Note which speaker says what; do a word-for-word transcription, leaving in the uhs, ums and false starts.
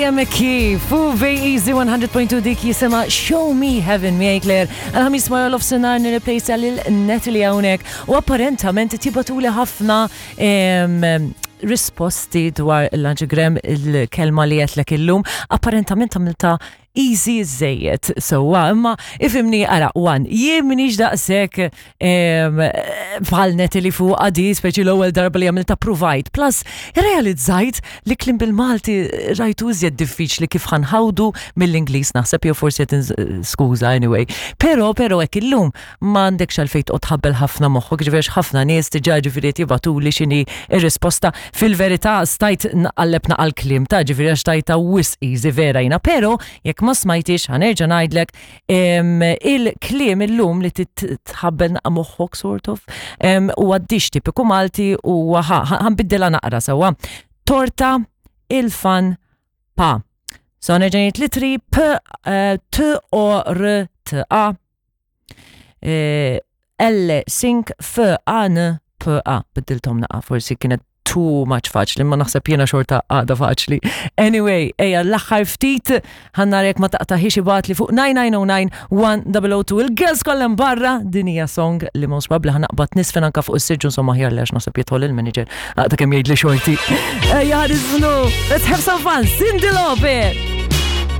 Speaker 1: Maria McKee, fu Easy one hundred point two, dik jisimha Show Me Heaven, miegħi Claire. Għal-Ħamis wara nofsinhar nirreplejsa lil Natalie hawnhekk u apparentament tibagħtuli ħafna em, risposti dwar l-anagram, il-kelma li għedtlek illum. Apparentament għamiltha easy żejjed, sewwa, imma ifhimni, ara, one, jien m'iniex daqshekk bħal Natalie fuq għadi, speċi l-ewwel darba li għamilta provide. Plus, realizzajt li kliem bil-Malti rajtu iżjed diffiċli kif ħa nħawdu mill-Ingliż, naħseb, jew forsi qed skuża anyway. Pero, pero hekk illum m'għandekx għalfejn toqgħod tħabbel ħafna moħħok, ġifieri ħafna nies diġà ġifieri jibagħtuli x'inhi ir-risposta. Fil-verità stajt naqalleb naqal kliem ta' ġifieri għax tajtha wisq easy vera jiena, pero jekk ma smajtix, ħa nerġa' ngħidlek em, il-kliem illum li titħabbel naqa moħħok sort of em, u għaddix tipiku Malti u ħa nbiddilha naqra, sewwa. Torta, il-fan, pa. So nerġa' ngħid l-ittri: P, eh, T, O, R, T, A. Eh, L, sink, F, A, N, P, A. Biddilthom naqa, forsi kienet too much faċli, ma naħseb jiena xorta għada faċli. Anyway, ejja, l-aħħar ftit, ħa nara jekk ma taqtaħiex ibgħatli fuq nine nine zero nine one zero zero two. Il-girls kollha barra, din hija song li most probably ħa naqbad niżfen anka fuq is-siġġu, insomma aħjar li għax naħseb jidħol il-manager. Għaqta kemm jgħid li xorti. Ejja, ħa niżfnu, let's have some fun, Cyndi Lauper!